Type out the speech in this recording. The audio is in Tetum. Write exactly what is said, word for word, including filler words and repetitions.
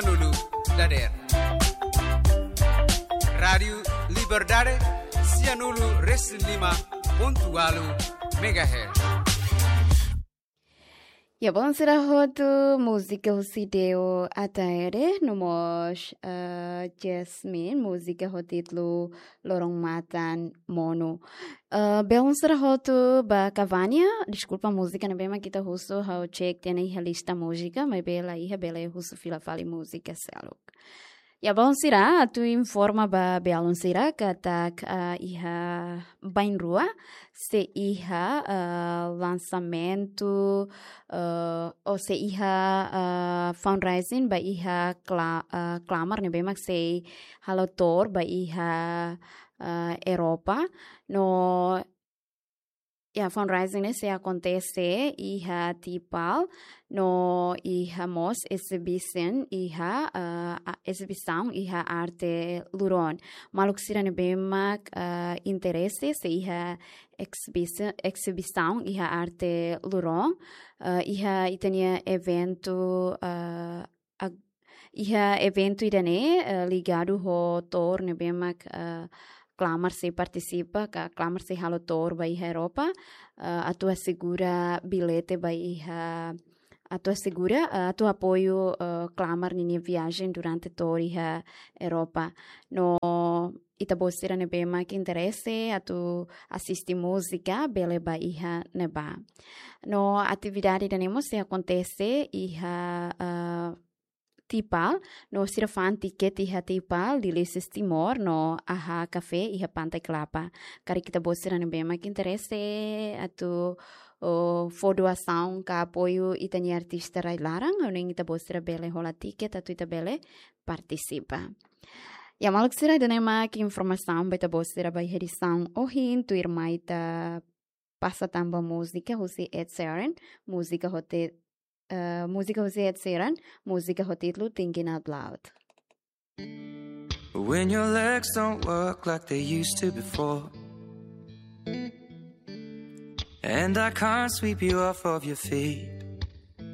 Sianulu dadeer. Rádiu Liberdade, sianulu resin lima pontu ualu megahertz. Ya, belun sira hotu, múzika husi Deo Ataire, no mós, eh, Jasmine, múzika ho títulu Loron Matan Monu. Eh, belun sira hotu, ba Cavania, deskulpa, múzika ne'ebé mak ita husu, ha'u cek tiha ona iha lista múzika, maibé la iha, bele husu fila fali múzika seluk. Ya, belun sira, atu informa ba belun sira katak, ah, iha bainrua sei iha, ah, lansamentu, ah, ou sei iha, ah, fundraising ba iha kla-, ah, klamar ne'ebé mak sei halo to'o ba iha, ah, Europa. No, ya, fundraising ne'e sei akontese iha Tipal, no iha mós exibisaun iha, eh, a-, exibisaun iha arte luron. Maluk sira ne'ebé mak, eh, interese sei iha exibisa-, exibisaun iha arte luron, eh, iha ita-nia eventu, eh, ag-, iha eventu ida-ne'e, eh, ligadu ho to'o ne'ebé mak, eh, klamar sei partisipa, ka klamar sei halo to'o ba iha Europa, eh, atu asegura bilete ba iha, atu asegura, eh, atu apoiu, eh, klamar ninia viajen durante to'o iha Europa. No ita-boot sira ne'ebé mak interese atu asiste múzika, bele ba iha ne'ebá. No atividade ida-ne'e mós sei akontese iha, eh, Tipal, no sira fa'an tiket iha Tipal, Delicious Timor, no Aha Café iha Pantai Kelapa. Karik ita-boot sira ne'ebé mak interese atu, o, fó doasaun ka apoiu ita-nia artista rai-laran, ha'u hanoin ita-boot sira bele hola tiket atu ita bele partisipa. Ya, maluk sira, ida-ne'e mak informasaun ba ita-boot sira ba iha edisaun ohin, tuirmai ita pasa tan ba múzika husi Ed Sheeran, múzika ho ti-, eh, múzika husi Ed Sheeran, múzika ho títulu Thinking Out Loud. When your legs don't work like they used to before, and I can't sweep you off of your feet.